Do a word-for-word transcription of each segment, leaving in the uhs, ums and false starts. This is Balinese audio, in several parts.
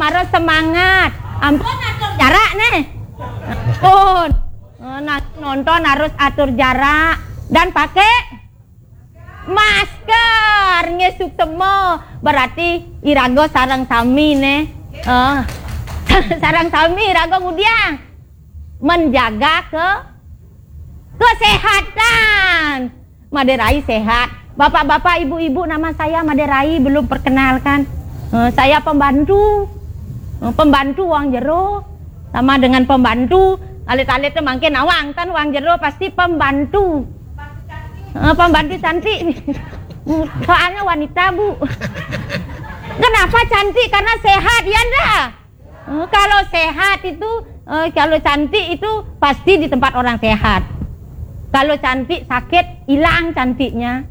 harus semangat. Ampun atur jarak nih. Ampun. Eh, nah, nonton harus atur jarak dan pakai masker. Nggih, suksema. Berarti iraga sareng sami nih. Eh, sareng sami iraga ngudiang menjaga ke kesehatan. Made Rai sehat. Bapak-bapak, ibu-ibu, nama saya Made Rai, belum perkenalkan. Eh, saya pembantu. Eh, pembantu wong jero sama dengan pembantu. Alit-alit tuh mangkin awang kan wong jero pasti pembantu. Eh, pembantu cantik. Soalnya wanita, Bu. Kenapa cantik? Karena sehat, ya ndak? Eh, kalau sehat itu, eh, kalau cantik itu pasti di tempat orang sehat. Kalau cantik sakit, hilang cantiknya.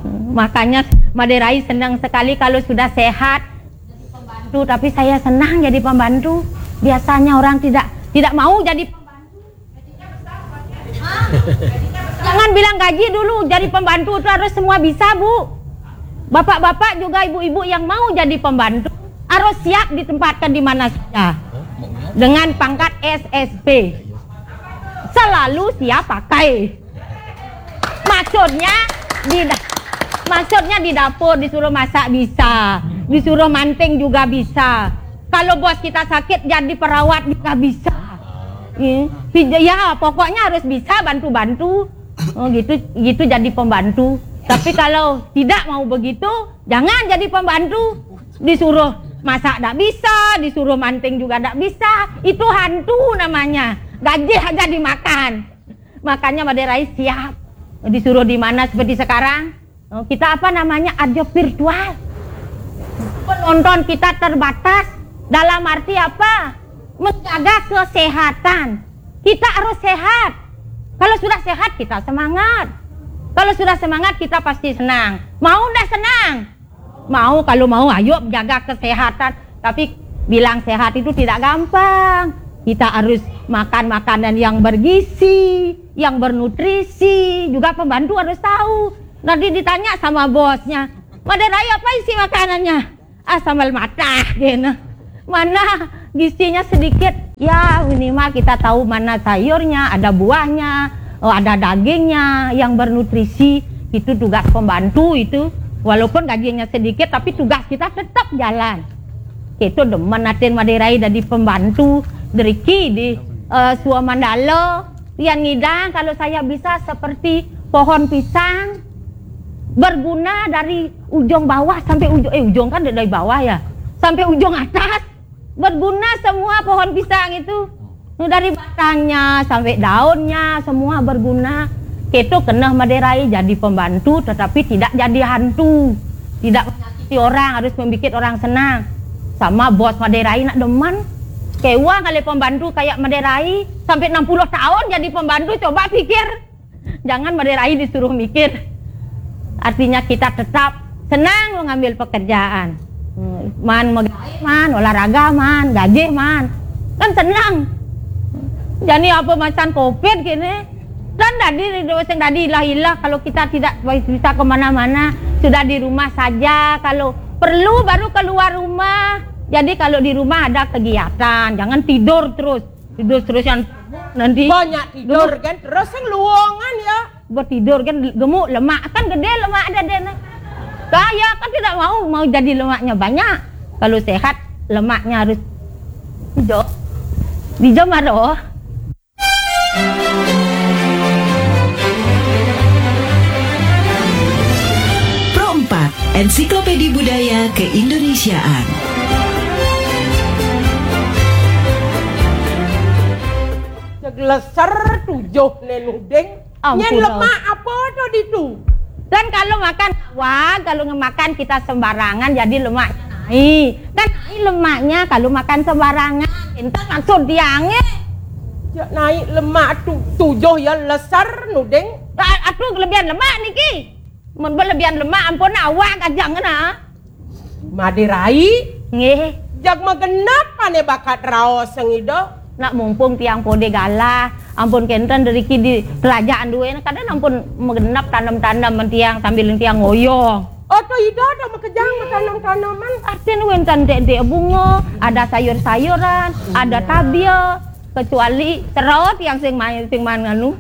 Eh, makanya Made Rai senang sekali kalau sudah sehat. Tuh, tapi saya senang jadi pembantu. Biasanya orang tidak tidak mau jadi pembantu. Jangan bilang gaji dulu, jadi pembantu itu harus semua bisa, Bu. Bapak-bapak juga, ibu-ibu yang mau jadi pembantu harus siap ditempatkan di mana saja dengan pangkat S S P. Selalu siap pakai. Maksudnya di da- maksudnya di dapur disuruh masak bisa, disuruh manting juga bisa. Kalau bos kita sakit jadi perawat juga bisa. Ya, pokoknya harus bisa bantu-bantu. Oh, gitu gitu jadi pembantu. Tapi kalau tidak mau begitu, jangan jadi pembantu. Disuruh masak tidak bisa, disuruh manting juga tidak bisa. Itu hantu namanya. Gaji aja dimakan. Makanya Made Rai siap. Disuruh di mana seperti sekarang? Oh, kita apa namanya, ada virtual. Penonton kita terbatas. Dalam arti apa? Menjaga kesehatan. Kita harus sehat. Kalau sudah sehat, kita semangat. Kalau sudah semangat, kita pasti senang. Mau ndak senang? Mau, kalau mau, ayo jaga kesehatan. Tapi bilang sehat itu tidak gampang. Kita harus makan makanan yang bergizi, yang bernutrisi. Juga pembantu harus tahu. Nanti ditanya sama bosnya, "Made Rai, apa isi makanannya?" "Ah, sambal matah," gitu. Mana gizinya sedikit? Ya, minimal kita tahu mana sayurnya, ada buahnya, oh, ada dagingnya yang bernutrisi. Itu tugas pembantu itu. Walaupun gajinya sedikit, tapi tugas kita tetap jalan. Kita demen atin Made Rai jadi pembantu, driki di, eh, Sua Mandala. Pian ngidang, kalau saya bisa seperti pohon pisang, berguna dari ujung bawah sampai ujung, eh, ujung kan dari bawah ya, sampai ujung atas. Berguna semua pohon pisang itu. Dari batangnya sampai daunnya, semua berguna. Kita kena Made Rai jadi pembantu, tetapi tidak jadi hantu. Tidak menyakiti orang, harus membuat orang senang. Sama bos Made Rai nak demen. Kewang kali pembantu kayak Made Rai, sampai enam puluh tahun jadi pembantu, coba pikir. Jangan Made Rai disuruh mikir. Artinya kita tetap senang mengambil pekerjaan. Man megawe, man olahraga, man gaji, man. Kan senang. Jadi apa macam covid gini. Dan tadi, sing tadi ilah-ilah, kalau kita tidak bisa kemana-mana, sudah di rumah saja. Kalau perlu baru keluar rumah. Jadi kalau di rumah ada kegiatan, jangan tidur terus. Tidur terus yang nanti banyak tidur kan, terus yang luongan ya. Buat tidur kan gemuk, lemak kan gede lemak ada deh. Saya kan tidak mau, mau jadi lemaknya banyak. Kalau sehat, lemaknya harus hijau. Hijau marah. Pro empat, Ensiklopedi Budaya Keindonesiaan. Cek leser tujuh nenuding. Ampun, nyen lemak apa tuh ditu? Dan kalau makan awak, kalau ngemakan kita sembarangan, jadi lemaknya naik. Kan naik lemaknya kalau makan sembarangan. Itu maksud dia nge. Cek naik lemak tu, tujuh ya leser nuding. Atuh kelebihan lemak niki. Mun berlebihan lemak ampun awak aja ngena. Made Rai. Nggih. Jag magenep ane bakat raos sengida. Nak mumpung tiang pode galah, ampun kenten deriki di kerajaan duwe, kadang ampun magenep tanem-tanem men tiang sambil tiang ngoyong. Oto Ida ada makejang matanem-taneman. Artin wénten dék-dék bunga, ada sayur-sayuran, ada tabia, kecuali serot yang sing main, sing main nganu,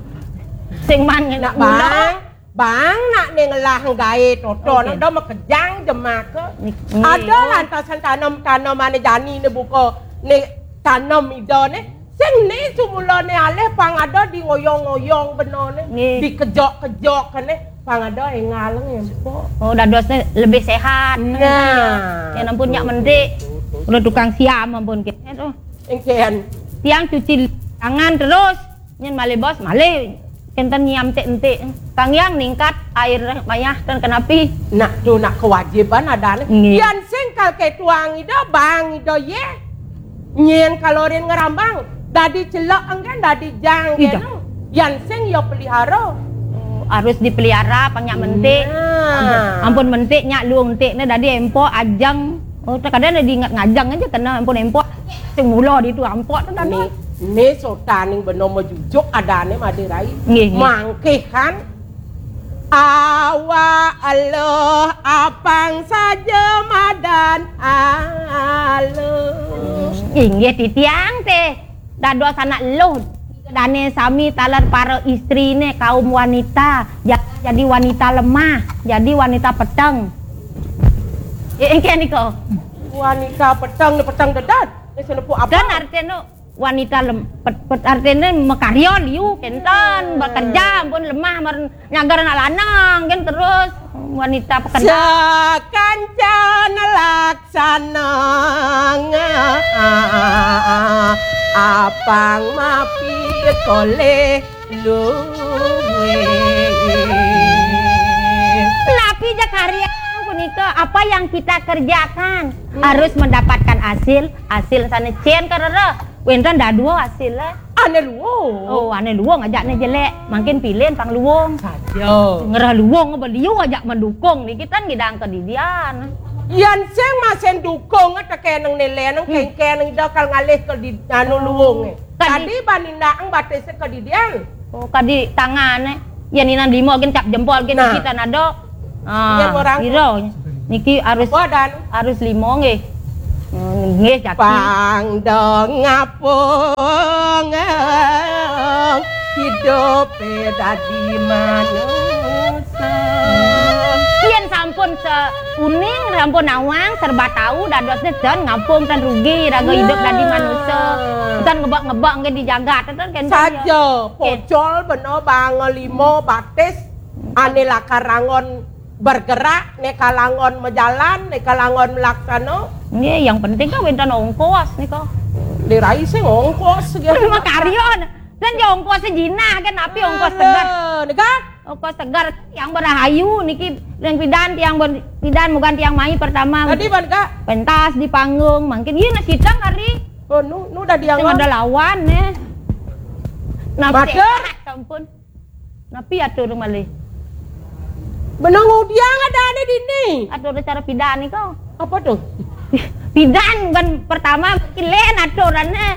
sing main nak gula. Bang, bang nak né ngelah gaé toto, oké, nak da makejang jemaka. Nik-, ada lantasan tanem-tanemane jani né buka né tanem Ida né. Sing né sumulane alih pang ada di ngoyong-ngoyong bena né, dikejok-kejok né, pang ada engal ngempok. Oh, dadosne lebih sehat. Nah. Ya ampun, nyak mentik. Udah tukang siam ampun kita tuh. Engken. Tiang cuci tangan terus. Nyen malih bos, malih kenten nyiam tik-entik. Kang Yang ningkat air mayah ten kenapi. Nak tu nak kewajiban adane. Nggih. Yan sing kal ketuang Ida, bang Ida ye. Nyen kalorin ngerambang, dadi celok engken dadi jang. Ida. Kenu. Yan sing ya pelihara. Oh, harus dipelihara, pang nyak mentik. Nah. Ampun, ampun mentik nyak luung entik ne dadi empok ajeng. Oh, terkadang ada diingat ngajeng aja kena ampun empok. Sing mula ditu ampok tu tadi. Ni, ni sotaning bena majujuk adane Madé Rai. Nggih, nggih. Mangkih kan. Awak eluh apang saja madan aluh. Inggih titiang teh. Dados anak eluh. Dane sami taler para istrine kaum wanita. Ja-, jadi wanita lemah, jadi wanita peteng. Eh, engke nika. Wanita peteng, peteng dedet. Wis nepuk apa? Dan artine wanita lem-, pet-, pet-, artine makarya liu kenten, bekerja ampun lemah, mar nyagar anak lanang kan terus wanita pekerja. Sakancan laksana apang mapi koleh luwih. Napi ja karya punika, apa yang kita kerjakan harus mendapatkan hasil, hasil sane cen karera. Wenten dadua hasil, eh. Ane luwung. Oh, ane luwung ajak ne jelek, mangkin pilin pang luwung. Saja. Ngerah luwung beliau ajak mendukung niki tan ngidang kedidian. Yan sing masen dukung tekeneng nilai neng kengkeng ida kal ngalih ke di anu luwung. Kadi, kadi banindaang batis kedidian. Oh, kadi tangane. Yan inan lima gen cap jempol gen. Nah. Kita nado. Ah, pira? Niki harus, harus lima nggih. Hmm, nggih, jaki. Pang dong ngapung hidup dadi manusa. Yen sampun se-, uning, sampun nawang, serba tahu, dadosne ten ngapung ten rugi, raga hidup dadi manusa. Ten ngebak-ngebak nggih di jagat, ten kenten ya. Saja, pocol bena bang lima batis, ane lakar angon bergerak, neka langon mejalan, neka langon melaksana. Nggih, yang penting kan wenten ongkos nika. Lirai sing ongkos gitu. Makarya. Kan ya ongkos jinah kan api ongkos segar. Nika? Ongkos segar yang berahayu niki yang pidan tiang ber-, pidan mugan tiang mai pertama. Tadi ban ka? Pentas di panggung, mangkin iya nasi tang hari. Oh, nu, nu dadi angon. Ada lawan ne. Nah, mata? Sehat, ampun. Napi atur malih? Benang udiang ada ane dini. Atur cara pidan ni kau. Apa tu? Pidan bukan pertama, mungkin lain aturannya.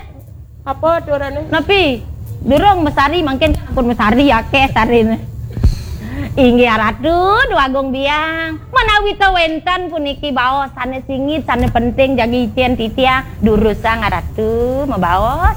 Apa aturannya? Napi? Durung mesari, mungkin pun mesari akeh sarine. Inggih Ratu, Dwagung Biang. Menawi ta wenten puniki baos sane singit, sane penting jagi icen titiang, durusang Ratu mabaos.